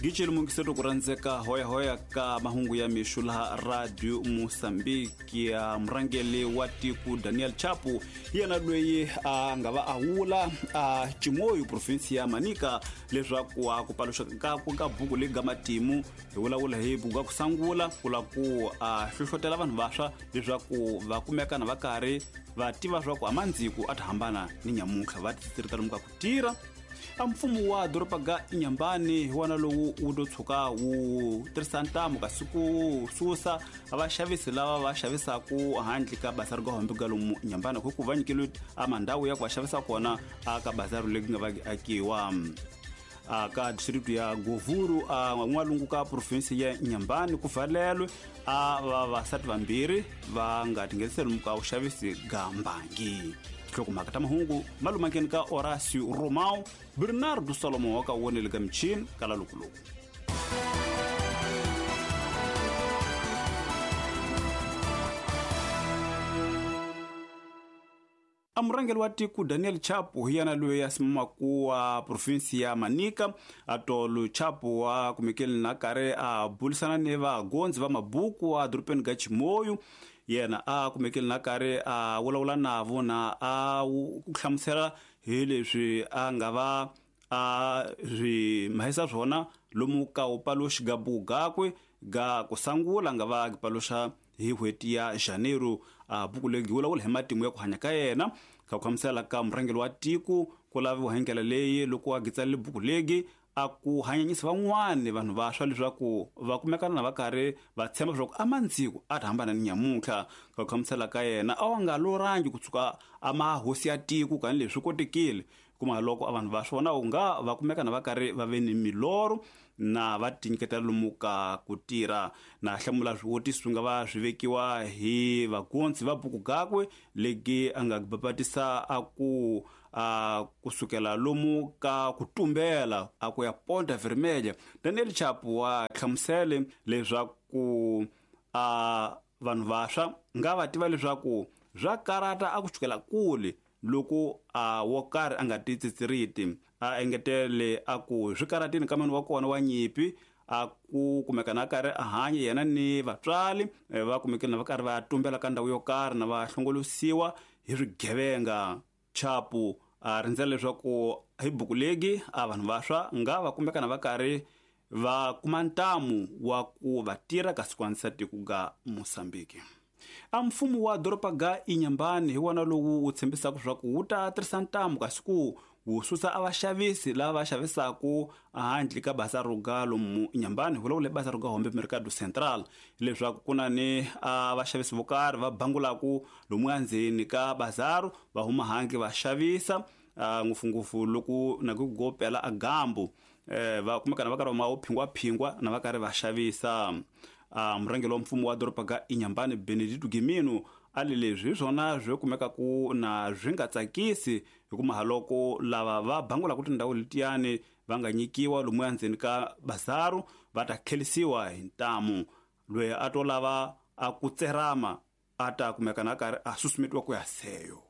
Giceli mungiseto ku rhandzeka hoyahoya ka mahungu ya mixo laha Radio Mosambiki. Ya murhangeli wa tiko Daniel Chapo yena loyi a nga va a wula a Chimoio province ya Manica leswaku a ku paluxa ka ka buku leyi ga matimu hi vulavula hi buku ya ku sangula ku la ku a hlohlotela vanhu vantshwa leswaku va kumeka na va karhi va tiva swa ku amandziku a ta hambana ni nyamuntlha va titirita lomu ka ku tirha. A mfumo wa doroba ga Inhambane hi wona lowu wu to tshuka wu tirhisa ntamu kasi ku susa vaxavisi lava va xavisaku handle ka bazari ga hombe ga lomu Inhambane hi ku va nyikeliwe a mandhawu ya ku va xavisa kona a ka bazari leyi nga va akiwa a ka district ya Govuru a n'walungu ka province ya Inhambane ku valelwe a vavasati vambirhi va nga tingheniseli lomu ka vuxavisi ga mbangi. Nhlokomhaka ta mahungu malumakeni ka Horacio Romao Bernardo Solomon wa ka wonele ka michini kala lukuluku. A murhangeri wa tiko Daniel Chapo hi yena loyi a simamaku wa province ya Manica. Atolo Chapo wa kumekeli na karhi a bulisana ni vagondzi va mabuku a dorobeni ga Chimoio. Yena a kumekeli na karhi a vulavula navo na a ku hlamusela hi leswi a nga va a swi mahisa swona lomu ka wu paluxi ga buku gakwe ga ku sangula nga va paluxa hi n'hweti ya Janeiro. A buku leyi vulavula hi matimu ya ku hanya ka yena ka ku hlamusela ka murhangeri wa tiko ku laviwa hi ndlela leyi loko a gitsalile buku leyi a ku hanyanyisa van'wani vanhu vantshwa leswaku va kumekana na va karhi va tshemba leswaku a mandziku a ta hambana ni nyamuntlha. Ka ku hlamusela ka yena a wa nga lorangi ku tshuka a mahosi ya tiko kani leswi kotekile kuma loko a vanhu va swona u nga va kumeka na va karhi va ve ni milorho na va tinyiketela lomu ka ku tirha. Na hlamula swivutiso swi nga va swi vekiwa hi vagonzi va buku gakwe legi a nga bapatisa a ku a kusukela lomu ka ku tumbela a ku ya Ponta Vermelha. Daniel Chapo wa hlamusele leswaku a vanhu vantshwa nga va tiva leswaku swa karata a ku chukela kule loko a wo karhi a nga ti tsitsiriti. A engetele a ku swi karatini ka mani wa kona wa nyipi a ku kumeka na karhi a hanya yena ni vatswari va kumekile na va karhi va tumbela ka ndhawu yo karhi na va hlongolosiwa hi swigevenga. Chapo a rindzela leswaku hi buku legi a vanhu vantshwa nga va kumeka na va karhi va kuma ntamu wa ku va tirha kasi ku andzisa tiko ga Mozambique. A mfumo wa doroba ga Inhambane hi wona lowu wu tshembisaka leswaku wu ta tirhisa ntamu kasi ku wu susa a vaxavisi lava va xavisaku handle ka bazari ga lomu Inhambane, vulavula hi bazari ga Hombe Mercado Central, leswaku ku na ni a vaxavisi vo karhi va bangulaku lomu endzeni ka bazaru va huma handle va xavisa ngopfungopfu loko na ku go pela a gambu va kumeka na va karhi va phingwaphingwa na va karhi va xavisa. Murhangeri wa mfumo wa doroba ga Inhambane Benedito Gimino a le leswi hi swona swi kumeka ku na swi nga tsakisi hikuva loko lava va bangulaka tindhawu letiyani va nga nyikiwa lomu endzeni ka bazaru va ta khelisiwa hi ntamu. Loyi a to lava a ku tserama a ta kumeka na karhi a susumetiwa ku ya seyo.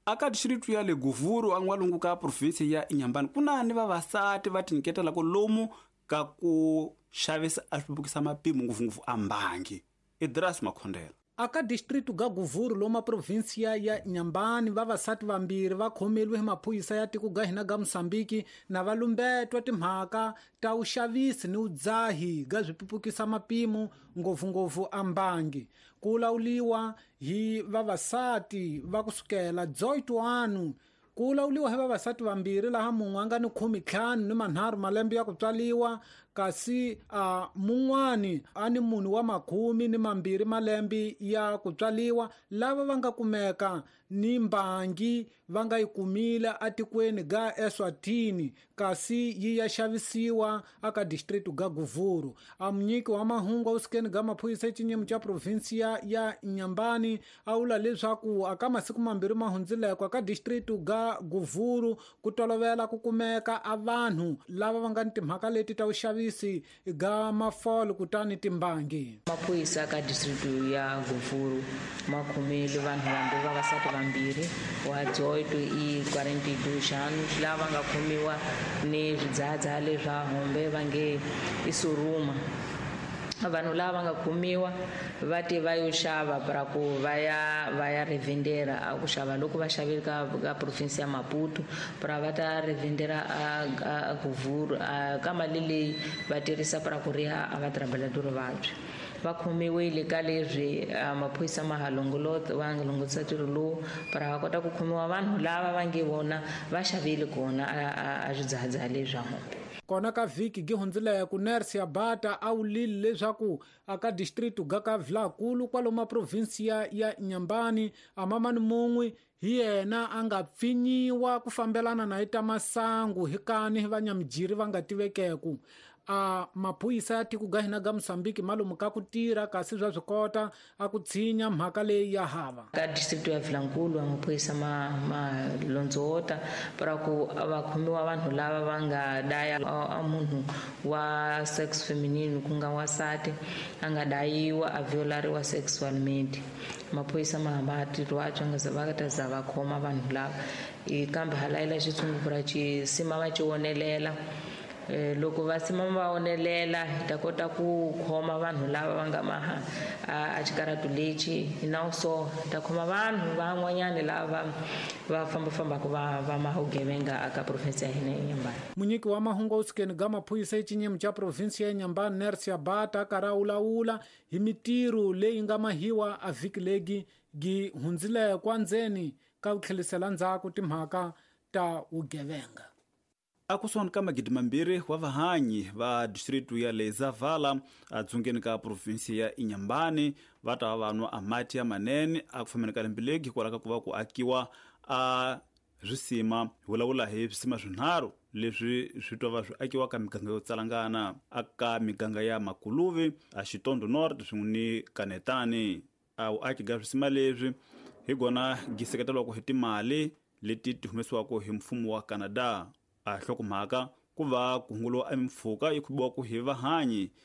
Aka district ya le Govuru a n'walungu ka province ya Inhambane ku na ni vavasati va tinyiketelaka lomu ka ku xavisa a swi mapimo ngopfungopfu a mbangi. Idras Makhondela. Aka district ga Govuru loma provinsia ya Inhambane vavasati vambirhi va khomeliwe hi maphorisa ya tiko ga hina ga Mozambique na va lumbetwa timhaka ta vuxavisi ni vudzahi ga swipupukisa mapimo ngopfungopfu a mbangi. Ku lawuliwa hi vavasati va kusukela 18 ku lawuliwa hi vavasati vambirhi laha mun'we a nga ni 15 ni 3 malembe ya ku tswaliwa kasi a mun'wani a ni munhu wa 12 malembe ya ku tswaliwa lava va nga kumeka ni mbangi va nga yi kumile atikweni ga Eswatini kasi yi ya xavisiwa aka district ga Govuru. A munyiki wa mahungu awusikeni ga maphorisa exinyemu xa provinsia ya Inhambane a vula leswaku aka masiku mambirhi ma hundzileko aka district ga Govuru ku tolovela ku kumeka a vanhu lava va nga ni timhaka leti ta vuxavisi uxavisi ga mafolo kutani timbangi. Maphorisa ka district ya Govuro ma khomile vanhu vambirhi, vavasati vambirhi wa 18 i 42 anos, lava nga khomiwa ni swidzahadzhaha leswa hombe va nge i suruma. Vanhu lava nga khomiwa va te va yo xava para ku va ya revendera a ku xava loko va xavile ka province ya Maputo para va ta revendera a Govuro ka mali leyi va tirhisa para ku riha a va trabalhador vabya. Va khomiwile ka leswi maphorisa ma ha longolota va nga longolotisa ntirho lowu para va kota ku khomiwa vanhu lava va nge vona va xavile kona a swidzahadzhaha leswi swa hombe. Kona ka vhiki gi hundzileke Nercia Bata a wulile leswaku aka district ga ka Vilankulu kwalomu provinsia ya Inhambane a mamani mun'we hi yena a nga pfinyiwa ku fambelana na ita masangu hi kani vanyamijiri va nga tivekeku. A maphorisa ya tiko ga hina ga Mozambique malomu ka ku tirha kasi swa swi kota a ku tshinya mhaka leyi ya hava. Ka district ya Vilankulu maphorisa ma londzota para ku va khomiwa vanhu lava va nga daya a munhu wa sex feminine ku nga wansati a nga dayiwa a violariwa sexualmente. Maphorisa ma hamba tirho wa tsonga va ta za va khoma vanhu lava kambe halayela xitshungu ra xisima va xi wonelela. Loko va sima va onelela hi ta kota ku khoma vanhu lava va nga maha a xikaratu lexi na so hi ta khoma vanhu van'wanyani lava va fambafambaka va maha vugevenga aka province ya hina ya Inhambane. Munyiki wa mahungu usukeni ga maphorisa exinyemu xa province ya Inhambane Nercia Bata karhi a wulawula hi mitirho leyi nga mahiwa a vhiki legi gi hundzile kwa ndzeni ka ku tlhelisela ndzhaku timhaka ta vugevenga. Akusuhani ka 2,000 wa vahanyi va district ya Lezavhala adzungeni ka provinsi ya Inhambane va ta va nwa amati ya manene a ku fambeni ka lembe legi hikwalaho ka ku va ku akiwa a swisima. Hi vulavula hi swisima swinharhu leswi swi twa va swi akiwa ka miganga yo tsalangana aka miganga ya Makuluvi, a Xitondo North swin'we ni Kanetani. A vuaki ga swisima leswi hi gona gi seketeriwaka hi timali leti ti humesiwaka hi mfumo wa Canada. A hlokomhaka ku va ku hunguliwa emimpfhuka yi khubiwaka hi vahanyi